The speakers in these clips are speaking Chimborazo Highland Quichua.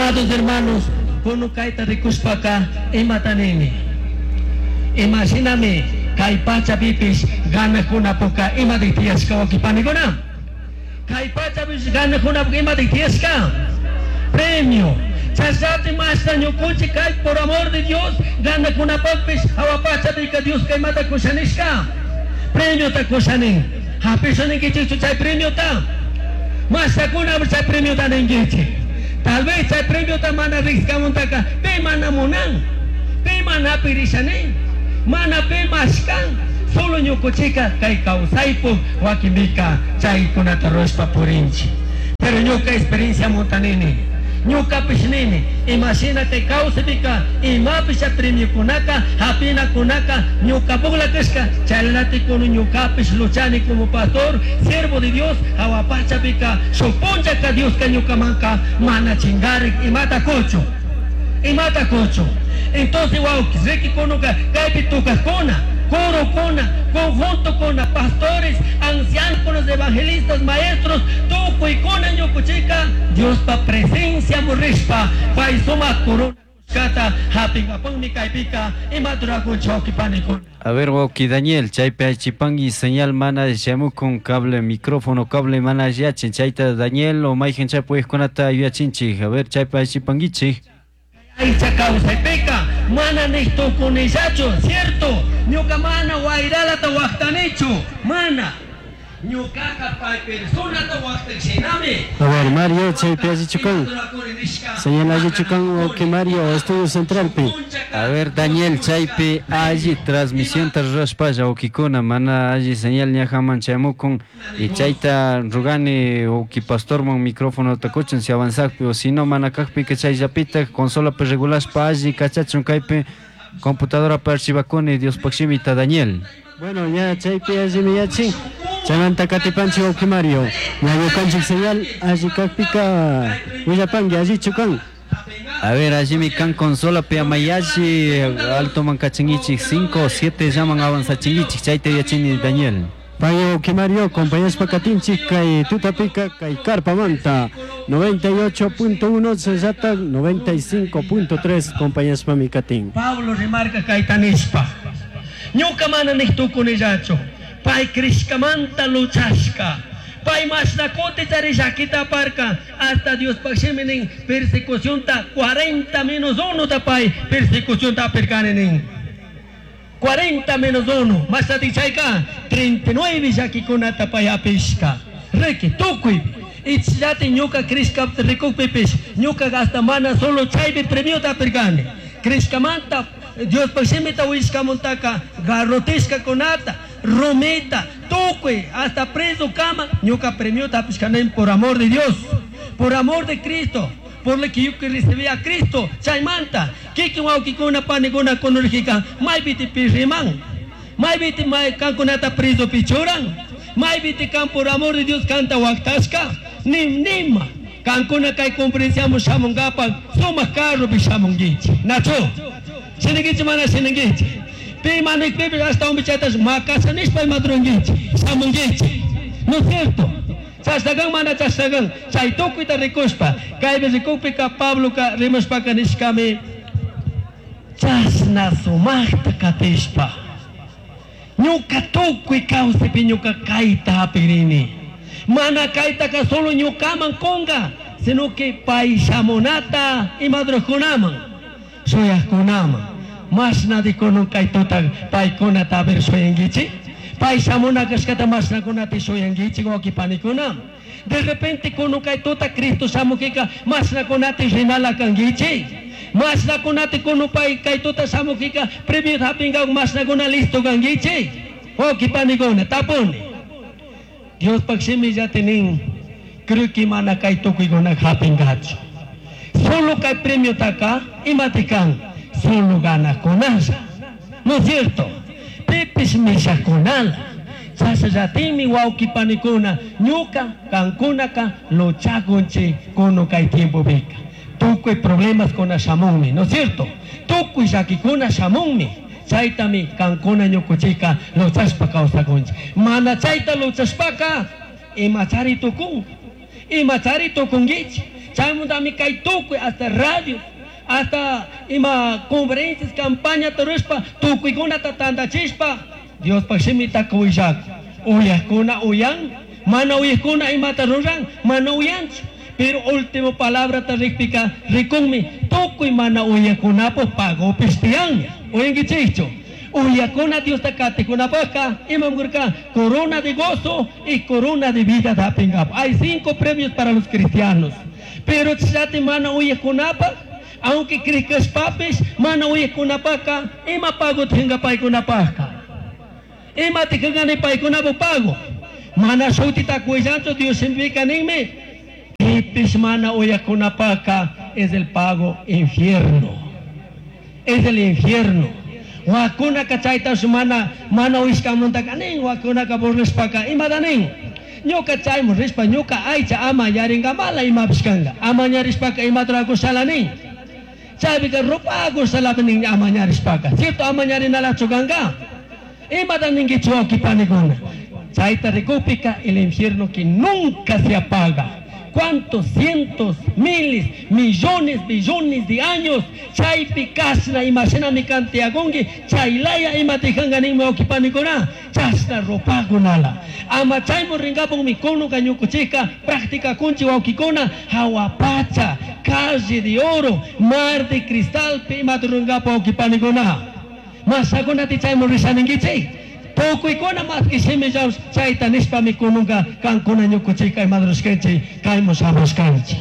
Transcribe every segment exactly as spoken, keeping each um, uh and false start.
Amados hermanos, kunukayta rikushpaka imata nini? Imashinami kay pachapipish ganakunapuka imatik tiyashka, wawqipanikuna? Kay pachapish ganakunapuka imatik tiyashka? Premio. Chashati mashta ñukunchik kay por amor de Dios ganakunapakpish hawa pachapika Dioska imata kushanishka? Premiota kushanin. Hapisha ninkichikchu chay premiota? Mashtakuna chay premiota ninkichik? Tal vez chay premiota mana riqsikamuntaka pi mana munan, pi mana pirishanin, mana pi mashkan. Solo ñukuchika kay kawsaypuk wakinpika chaykunata rurashpa purinchik. Pero ñuka experiencia muntanini, ñukapish nini, imashina kay kawsaypika imapish chay premiokunaka hapinakunaka ñukapukla kashka, chaylatik kuno ñukapish luchani como pastor, siervo de Dios, hawa pachapika shuk punchaka Dioska ñukamanka mana chingarik imata kuchun, imata kuchun. Entonces, wawki, riki kunuka kaypi tukakuna, corokuna, conjuntokuna, pastores, ancianos, evangelistas, maestros, tukuykuna ñukuchika Diospa presencia murishpa pay sumak corona kata hapingapakmi kaypika imata rurakunchik, wawqipanikuna. A ver, wawqi Daniel, chaypi aychipanki señal mana shamukun cable, micrófono cable mana yachin. Chayta Daniel o mayqin chay puyqkunata yuyachinchik. A ver, chaypi aychipankichik. Aycha kawsaypika mana niq tukunillachu, cierto, ñuka mana wayralata waqtanichu, mana. Ñukaka pay personata waqtashinami. A ver, Mario, chaypi allichu kan? Señal allichu kan, wawqi Mario, estudio centralpi? A ver, Daniel, chaypi alli transmisionta rurashpalla, wawqikuna, mana alli señal ñajaman chayamukun y chayta rugani wawqi pastorman micrófonota kuchun si avanzakpi o si no mana kaqpika chayllapitaq consolapi regulashpa alli kachachun kaypi computadora archivakuni Diospaq shimita, Daniel. Bueno, ya chaypi allimi yachin. Chaymanta katipanchik, wawqi Mario. Ña ñukanchik señal alli kaqpika willapanki allichu kan. A ver, allimi kan consolapi amayalli altoman kachinkichik cinco o siete llaman avanzachinkichik chayta yachini, Daniel. Pay wawqi Mario, acompañashpa katinchik kay tutapika kay Karpamanta noventa y ocho punto uno chayllata noventa y cinco punto tres acompañashpami katin. Pablo remarca kayta nishpa: ñuka mana niq tukunillachu, pay crishkamanta luchashka, pay mashna kuti chari llakita aparka, hasta Diospaq shimi nin persecucionta cuarenta menos uno ta pay persecucionta apirkani nin. cuarenta menos uno, mashtati chayka treinta y nueve llakikunata pay apishka. Riki tukuy ichllati ñuka crishka rikukpipish ñuka hasta mana solo chaypi premiota apirkani. Crishkamanta Diospaq shimita willashkamuntaka garrotishkakunata, rumita, tukuy hasta preso kama ñuka premiota apishkani por amor de Dios, por amor de Cristo, por lo que yo que recibí a Cristo. Chaymanta kikin wawkikuna panikuna kunurjika maypiti pirriman, maypiti may kankunata preso pichuran, maypiti kan por amor de Dios kanta waqtashka nim nima kankuna kay conferenciaman shamunkapak sumak carropi shamunkichik, nachu? Shinankichik mana shinankichik? Pi manikpipish ashtawanpi chaytash makasha nishpa imadurunkichik shamunkichik, ¿no es cierto? Chashnakan mana chashnakan? Chay tukuyta rikushpa kaypi rikukpika Pabloka rimashpaka nishkami: chashna sumakta katishpa ñuka tukuy kawsaypi ñuka kayta hapirini, mana kaytaka solo ñukaman kunka, sino que pay shamunata imadurkunaman shuyaqkunaman. Mashnadi kunun kay tuta paykunata haber shuyankichik? Pay shamuna kashkata mashnakunata shuyankichik, wawqi panikuna? De repente kunun kay tuta Cristo shamukika mashnakunata rinala kankichik? Mashnakunata kunu pay kay tuta shamukika premio hapinka mashnakuna listo kankichik, wawqi panikuna? Tapuni. Diospaq shimillati nin, creo que mana kay tukuykuna hapinkachu. Solo kay premiotaka imati kan? Solo ganakunalla, ¿no es cierto? Pipis mishakunala. Chashallatimi, wawqi panikuna, ñuka kankunaka luchakunchik kunu kay tiempopika tukuy problemas kuna shamunmi, ¿no es cierto? Tukuy llakikuna shamunmi. Chaytami kankuna ñukuchika luchashpa kawsakunchik. Mana chayta luchashpaka imachari tukun, imachari tukunkichik. Chaymantami kay tukuy hasta radio, hasta ima conferencias, campaña rurashpa tukuykunata tantachishpa Diospaj shimitaka willak. Uyakuna uyan, mana uyakuna imata ruran, mana uyanchu. Pero último palabra ta rikpika rikunmi tukuy mana uyakunapak pagopish tiyan. Uyankichikchu. Uyakuna Diosta katikunapajka imam kurka corona de gozo y corona de vida dapingap. Hay cinco premios para los cristianos. Pero chati mana uyakunapaj, aunque crikashpapish mana uyakunapajka ima pago tinga paykunapajka. Ima tikangani paykunapaj pago. Mana shutita kuyllanchu Dios shimipika ninmi. Pipish mana uyakunapajka es el pago infierno. Es el infierno. Wakunaka chayta mana mana uyashkamantaka nin wakunaka burlashpaka imata nin ñuka chaymun rishpa ñuka aycha ama yaringamala imapish kanka ama ñarishpaka imata rurakushala nin chaypika rupakushalata nin ama ñarishpaka cierto ama ñarinalachu kanka imata ninkichu wawqipanikuna chayta rikupika el infierno que nunca se apaga. ¿Cuántos cientos, miles, millones, billones de años? Chaypi kashna imashinami kantiakunki, chaylaya imatijanka ninmi wawqipanikuna, chashna rupakunala. Ama chaymun rinkapukmi kunuka ñukuchika practicakunchik wawqikuna hawa pacha, calle de oro, mar de cristalpi imata rurankapak wawqipanikuna. Mashakunati chaymun rishaninkichik. Tukuykuna maski shimillash chayta nishpami kununka kankuna ñukuchika imadrushkanchik kaymun shamushkanchik.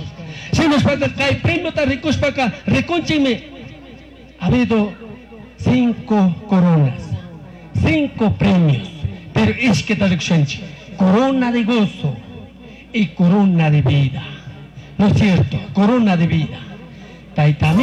Shinashpaka kay premiota rikushpaka rikunchikmi ha habido cinco coronas, cinco premios, pero ishkita rikushanchik, corona de gozo y corona de vida. ¿No es cierto? Corona de vida. Tayta